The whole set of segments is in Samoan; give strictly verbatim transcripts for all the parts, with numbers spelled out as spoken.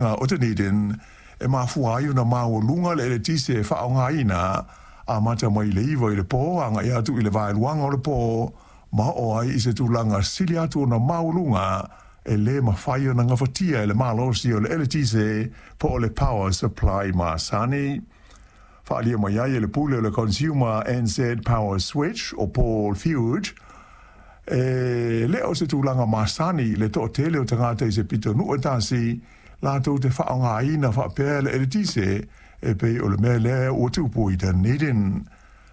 O Dunedin e mafua ai ona maualuga le eletise e faaaogaina amata mai le iva i le pō agai atu i le vaeluaga o le pō ma oo ai i se tulaga sili atu ona maualuga e lē mafai ona gafatia e le malosi o le eletise po o le power supply masani. Faaalia mai ai e le pule o le Consumer N Z Power Switch o Paul Fuge e le o se tulaga masani le toatele o tagata i se pitonuu e tasi latou te faaaogaina faapea le eletise e pei o le mea lea ua tupu i Dunedin.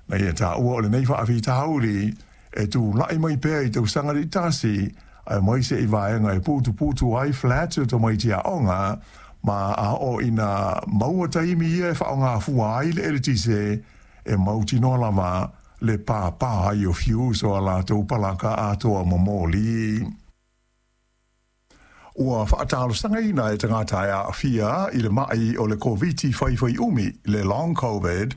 Na ia taua o lenei faafitauli e tula'i mai pea i tausaga taitasi aemaise i vaega e putuputu ai flats o tamaiti aoga ma a oo ina maua taimi ia e faaaogafua ai le eletise e mautinoa lava le pāpā ai o fuse o a latou palaka atoa momoli. Ua faatalosagaina e tagata e aafia i le ma'i o le Koviti faifaiumi le long COVID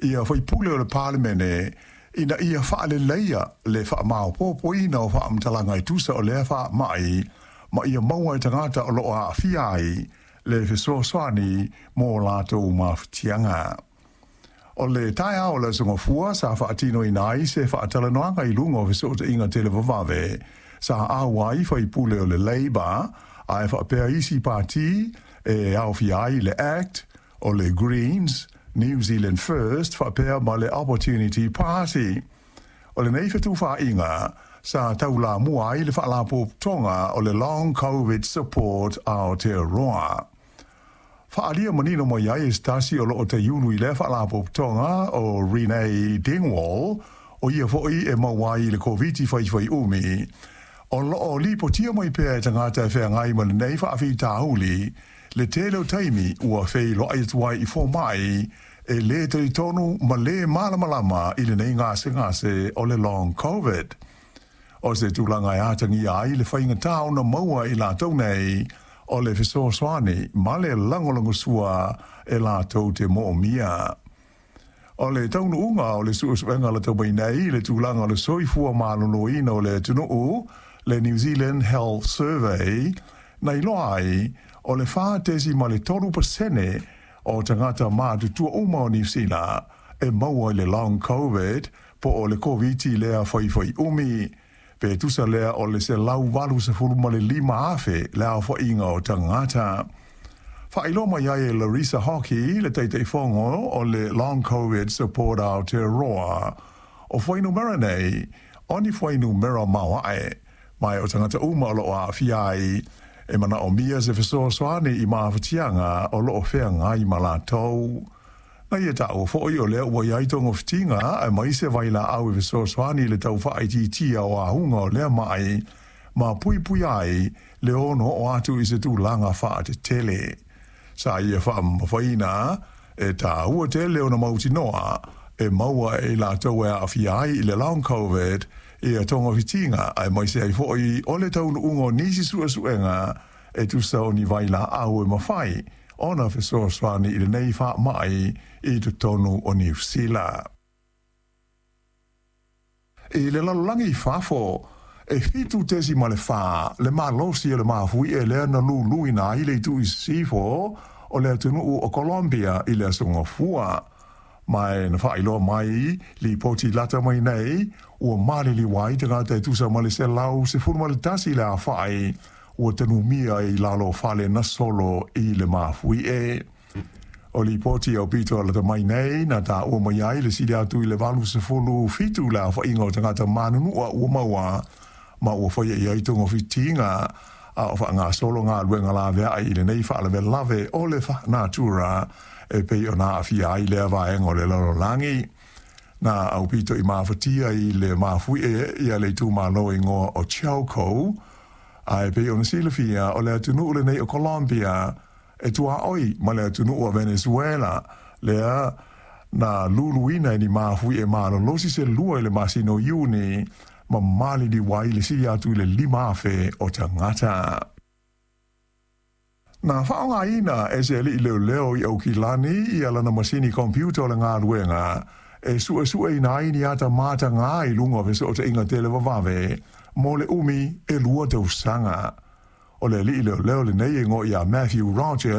ia faipule o le Palemene ina ia faaleleia le faamaopoopoina o faamatalaga e tusa o lea faama'i ma ia maua e tagata o loo aafia ai le fesoasoani mo latou mafatiaga. O le taeao o le Aso Gafua sa faatinoina ai se faatalanoaga i luga o fesootaiga televavave sa auai faipule o le Labour ae faapea isi pati e aofia ai le ACT, o le Greens, New Zealand First faapea ma le Opportunity Party. O lenei fetufaaiga sa taulamua ai le faalapotopotoga o le Long COVID Support Aotearoa. Faaalia manino mai ai e se tasi o loo taiulu i lea faalapotopotoga o Renee Dingwall, o ia fo'i e maua ai i le Koviti faifaiumi, o loo lipotia mai pea e tagata e feagai ma lenei faafitauli le tele o taimi ua feiloai atu ai i fomai e lē talitonu ma lē malamalama i lenei gasegase o le long COVID. O se tulaga e atagia ai le faigatā ona maua i latou nei o le fesoasoani ma le lagolagosua e latou te moomia. O le taunuuga o le suesuega lata mai nei i le tulaga o le soifua maloloina o le atunuu, le New Zealand Health Survey, na iloa ai o le fa tesi ma le tolu pasene o tagata matutua uma o Niu Sila e maua i le long COVID po o le Koviti lea faifaiumi pe tusa lea o le se lau valu sefulu ma le lima afe le aofaiga o tagata. Faailoa mai ai e Larissa Hockey, le Taitaifono o le Long COVID Support Aotearoa, o fuainumera nei o ni fuainumera maoae ma o tagata uma o loo aafia ai e manaomia se fesoasoani i mafatiaga o loo feagai ma latou. Na ia taua fo'i o lea ua iai togafitiga aemaise vailaau e fesoasoani i le tau faaitiitia o auga o lea ma'i ma puipui ai le ono oo atu i se tulaga faatetele. Sa ia faamamafaina e taua tele ona mautinoa e maua e latou e aafia ai i le long COVID ia togafitiga aemaise ai fo'i o le taunuuga o nisi suesuega e tusa o ni vailaau e mafai ona fesoasoani i lenei faama'i i totonu o Niu Sila. I le lalolagi i fafo, e fitu tesi ma le fa le malosi o le mafuie lea na luluina ai le itu i sisifo o le atunuu o Colombia i le Aso Gafua. Ma e na faailoa mai lipoti lata mai nei ua maliliu ai tagata e tusa ma le selau sefulu ma le tasi le afa'i ua tanumia i lalo o fale na solo i le mafuie. O lipoti aupito lata mai nei na taua mai ai le sili atu i le valu sefulu fitu le aofaiga o tagata manunua ua maua ma ua faia i ai togafitiga a o faagasolo galuega laveai i lenei faalavelave o le natura e pei ona aafia ai lea vaega o le lalolagi. Na aupito i mafatia i le mafuie ia le itumalo igoa o Chocó ae pei ona silafia o le atunuu lenei o Colombia e tuaoi ma le atunuu o Venezuela lea na luluina e ni mafuie malolosi se lua i le masina o Iuni ma maliliu ai le sili atu i le lima afe o tagata. Na faaaogaina e se alii leoleo i Aukilani ia lana masini computer o le galuega e suesueina ai ni ata matagā i luga o fesootaiga televavave mo le umi e lua tausaga. O le alii leoleo lenei e igoa ia Matthew Rogers.